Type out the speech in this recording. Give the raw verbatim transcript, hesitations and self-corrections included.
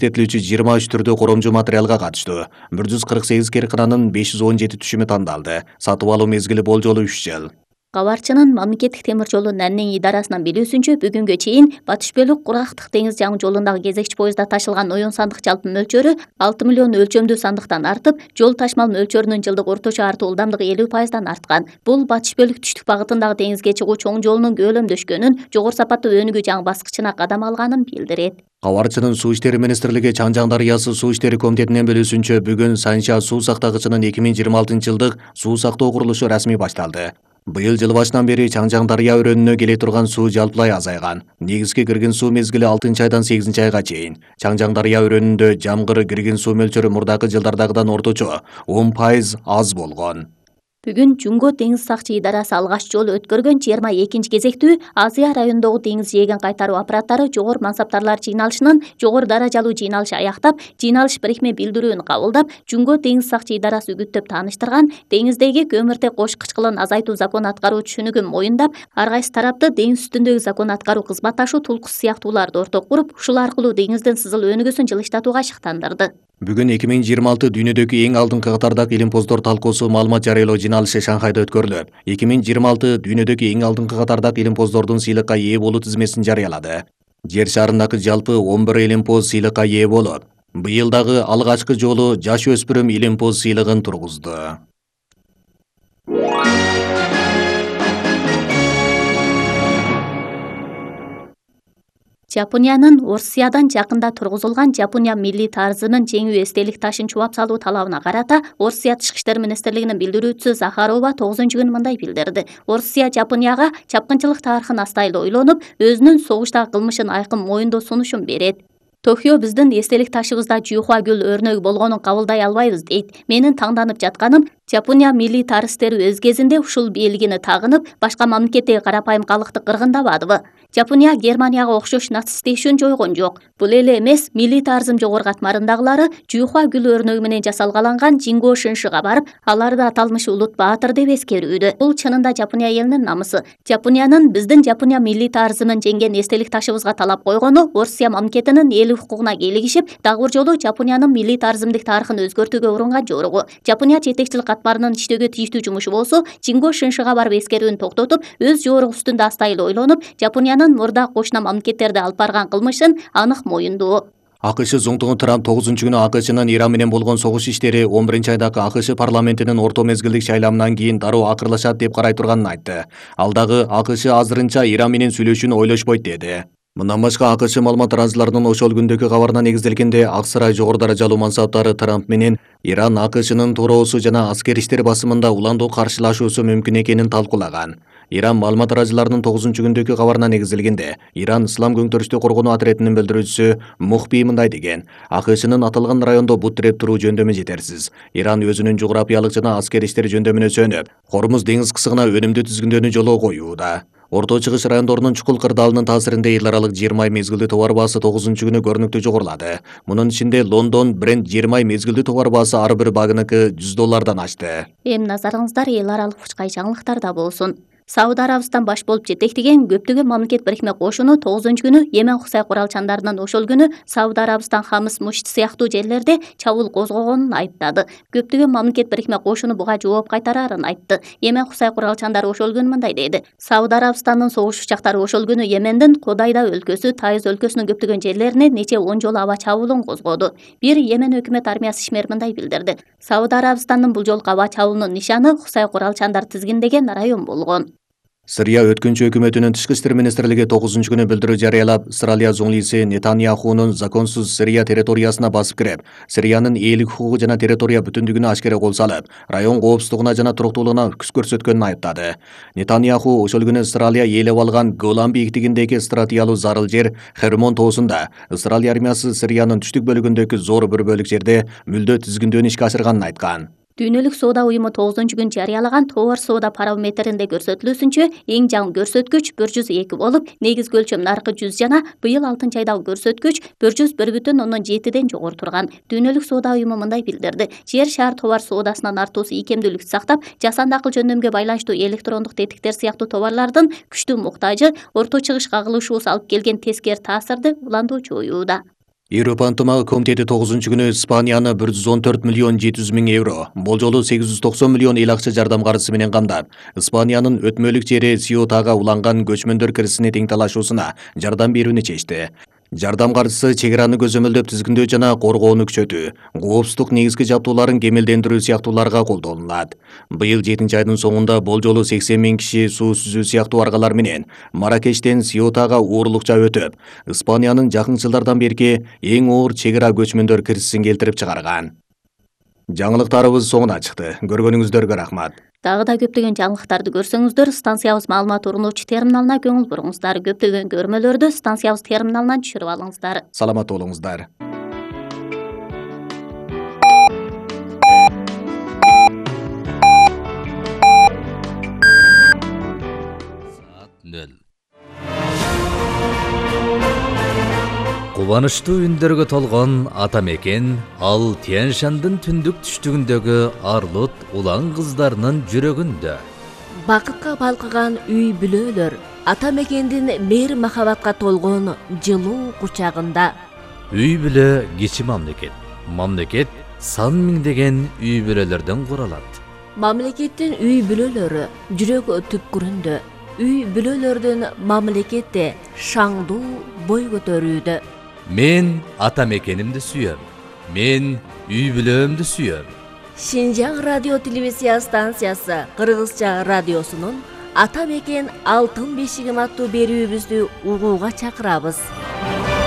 иштетилүүчү жыйырма үч түрдүү коромжу материалга катыштуу. бир жүз кырк сегиз кыркынанын беш жүз он жети түшүмү тандалды. Сатып алуу мезгили болжолу үч жыл. Кабарчынын мамлекеттик темир жолу Наннин идарасынан билүүсүнчө бүгүнгө чейин Батыш Бөлүк Кургактык деңиз жаңы жолундагы кезекчи поездда ташылган оюн сандык жалпы мөлчөрү алты миллион өлчөмдүү сандыктан артып, жол ташмал мөлчөрүнүн жылдык орточо артуу ылдамдыгы элүү пайыздан арткан. Бул Батыш Бөлүк түштүк багытындагы деңизге чыгуу чоң жолунун көөлөмдөшкөнүн, жогору сапаттуу өнүгүү жаңы баскычына кадам алганын билдирет. Кабарчынын Суу иштери министрлиги Чаңжаң дарыясы суу иштери комитетинин билүүсүнчө бүгүн Санча суу сактагычынын эки миң жыйырма алтынчы жылдык суу сактоо курулушу расмий башталды. Быйыл жыл башынан бери Чаңжаң дарыя өрөөнүнө келе турган суу жалпылай азайган. Негизги кирген суу мезгили алтынчы айдан сегизинчи айга чейин. Чаңжаң дарыя өрөөнүндө жамгыр кирген суу мөлчөрү мурдакы жылдардагыдан орточо он пайыз аз болгон. Бүгүн Жумго деңиз сакчы идарасы алгач жолу өткөргөн жыйырма экинчи кезектүү Азия районундагы деңиз жээгин кайтаруу аппараттары жогору мансаптарлар жыйналышынын жогору даражалуу жыйналышы аяктап, жыйналыш бирикме билдирүүнү кабылдап, Жумго деңиз сакчы идарасы үгүттөп тааныштырган деңиздеги көмүртек кош кычкылын азайтуу закон аткаруу түшүнүгүн моюндап, ар кайсы тарапты деңиз үстүндөгү закон аткаруу кызматташуу тулкуусу сыяктууларды ортого куруп, ушул аркылуу деңиздин сызыл өнүгүүсүн жылыштатууга шыктандырды. Бүгүн эки миң жыйырма алты дүйнөдөгү эң алдыңкы катардагы илимпоздор талкуусу маалымат жарыялоо жыйналышы Шанхайда өткөрүлөт. эки миң жыйырма алты дүйнөдөгү эң алдыңкы катардагы илимпоздордун сыйлыкка ээ болуу тизмесин жарыялады. Жер шарындагы жалпы он бир илимпоз сыйлыкка ээ болот. Быйыл дагы алгачкы жолу жаш өспүрүм илимпоз сыйлыгын тургузду. Жапониянын Орусиядан жакында тургузулган Жапония милли тарзымын жеңүү эстелик ташын чубап салуу талабына карата Орусия Тышкы иштер министрлигинин билдирүүчүсү Захарова тогузунчу күнү мындай билдирди. Орусия Жапонияга чапкынчылык тарыхын астайлы ойлонуп, өзүнүн согуштагы кылмышын айкын моюндоо сунушун берет. Токио биздин эстелик ташыбызда жүйхуа гүл өрнөгү болгонун кабылдай албайбыз дейт. Менин таңданып жатканым, Жапония милли тарыхтери өз кезинде ушул бийлигини тагынып, башка мамлекеттеги карапайым калкты кыргындабадыбы? Жапония Германияга окшош нацисттешүүнү жойгон жок. Бул эле эмес, милли тарзым жогору катмарындагылары жүйхуа гүл өрнөгү менен жасалгаланган Жинго Шиншига барып, аларды аталмыш улут баатыр деп эскерүүдө. Бул чынында Жапония элинин намысы. Жапониянын биздин Жапония милли тарзымын жеңген эстелик ташыбызга талап койгону Орусия мамлекетинин эл укугуна келигишип, дагы бир жолу Жапониянын милли тарзымдык тарыхын өзгөртүүгө урунган жоругу. Жапония жетекчилик катмарынын иштөөгө тийиштүү жумушу болсо, Жинго Шиншига барып эскерүүнү токтотуп, өз жоругу үстүндө астайлы ойлонуп, Жапониянын мурда кошуна мамлекеттерди алып барган кылмышын анык моюндоо. АКШ зоңтугу Трамп тогузунчу күнү АКШнын Иран менен болгон согуш иштери он биринчи айдагы АКШ парламентинин орто мезгилдик шайлоомунан кийин дароо акырлашат деп карай турганын айтты. Ал дагы АКШ азырынча Иран менен сүйлөшүүнү ойлошпойт деди. Мындан башка АКШ маалымат тараазыларынын ошол күндөгү кабарына негизделгенде Ак сарай жогору даражалуу мансаптары Трамп менен Иран АКШнын туроосу жана аскер иштер басымында уландуу каршылашуусу мүмкүн экенин талкуулаган. Иран маалымат тараазыларынын тогузунчу күндөгү кабарына негизделгенде Иран ислам көңтөрүштү коргонуу отрядынын билдирүүчүсү Мухби мындай деген: АКШнын аталган райондо бут тиреп туруу жөндөмү жетерсиз. Иран өзүнүн жугурапиялык жана аскер иштер жөндөмүнө сөнүп, Хормуз деңиз кысыгына өнүмдүү тизгиндөөнү жолго коюуда. Орто Чыгыш райондорунун чукул кырдаалынын таасиринде эл аралык жыйырма ай мезгилдүү товар баасы тогузунчу күнү көрүнүктүү жогорулады. Мунун ичинде Лондон бренд жыйырма ай мезгилдүү товар баасы ар бир багыныкы жүз доллардан ашты. Эми назарыңыздар эл аралык учкай жаңылыктарда болсун. Сауд Арабистан баш болуп жетектеген көптөгөн мамлекет бирикме кошуну тогузунчу күнү Йемен Хусай куралчандарынын ошол күнү Сауд Арабистан Хамс Мушт сыяктуу жерлерде чабуул козгогонун айыптады. Көптөгөн мамлекет бирикме кошуну буга жооп кайтарарын айтты. Йемен Хусай куралчандары ошол күнү мындай деди: Сауд Арабистанын согуш учактары ошол күнү Йемендин Кодайда өлкөсү, Тайыз өлкөсүнүн көптөгөн жерлерине нече он жолу аба чабуулун козгоду. Бир Йемен өкмөт армиясы ишмери мындай билдирди: Сауд Арабистанын бул жолку аба чабуулунун нишаны Хусай куралчандар тизгиндеген район болгон. Сырия өткүнчү өкмөтүнүн тышкы иштер министрлиги тогузунчу күнү билдирүү жарыялап, Исраилия зоңлиси Нетаньяхунун законсуз Сирия территориясына басып кирип, Сириянын ээлик укугу жана территория бүтүндүгүнө ашкере кол салып, район коопсуздугуна жана туруктуулугуна күч көрсөткөнүн айыптады. Нетаньяху ошол күнү Исраилия ээлеп алган Голан бийиктигиндеги стратегиялуу зарыл жер Хермон тоосунда Исраилия армиясы Сириянын түштүк бөлүгүндөгү зор бир бөлүк жерде мүлдө тизгиндөөнү ишке ашырганын айткан. Дүйнөлүк соода уюму тогузунчу күнү жарыялаган товар соода барометринде көрсөтүлүүсүнчө эң жаңы көрсөткүч бир жүз эки болуп, негизги өлчөм наркы жүз жана быйыл алтынчы айдагы көрсөткүч бир жүз бир бүтүн ондон жетиден жогору турган. Дүйнөлүк соода уюму мындай билдирди: жер шаар товар соодасынын артуусу ийкемдүүлүктү сактап, жасанды акыл жөндөмгө байланыштуу электрондук тетиктер сыяктуу товарлардын күчтүү муктажы, орто чыгыш кагылышуусу алып келген тескери таасирди уландуу жоюуда. Европа ынтымагы комитети тогузунчу күнү Испанияны бир жүз он төрт миллион жети жүз миң евро, болжолу сегиз жүз токсон миллион эл акча жардам каржысы менен камдап, Испаниянын өтмөлүк жери Сиотага уланган көчмөндөр кирисине тең талашуусуна жардам берүүнү чечти. Жардам каржысы чек араны көзөмөлдөп тизгиндөө жана коргоону күчөтүү, коопсуздук негизги жабдууларын кемелдендирүү сыяктууларга колдонулат. Быйыл жетинчи айдын соңунда болжолу сексен миң киши суу сүзүү сыяктуу аргалар менен Маракештен Сиотага уурулукча өтүп, Испаниянын жакын жылдардан берки эң оор чек ара көчмөндөр кирисин келтирип чыгарган. Жаңылыктарыбыз соңуна чыкты. Көргөнүңүздөргө рахмат. Дагы да көптөгөн жаңылыктарды көрсөңүздөр, станциябыз маалымат орунуучу терминалына көңүл буруңуздар. Көптөгөн көрмөлөрдү станциябыз терминалынан түшүрүп алыңыздар. Саламат болуңуздар. Кубанычтуу үндөргө толгон ата мекен ал Тянь-Шандын түндүк түштүгүндөгү Арлут улан кыздарынын жүрөгүндө. Бакытка балкыган үй бүлөлөр ата мекендин мээр махабатка толгон жылуу кучагында. Үй бүлө кичи мамлекет. Мамлекет сан миңдеген үй бүлөлөрдөн куралат. Мамлекеттин үй бүлөлөрү жүрөк түпкүрүндө. Үй бүлөлөрдүн мамлекетте шаңдуу бой көтөрүүдө. Мен ата мекенимди сүйөм. Мен үй бүлөмдү сүйөм. Шинжаң радио телевизия станциясы Кыргызча радиосунун Ата мекен алтын бешигим аттуу берүүбүздү угууга чакырабыз.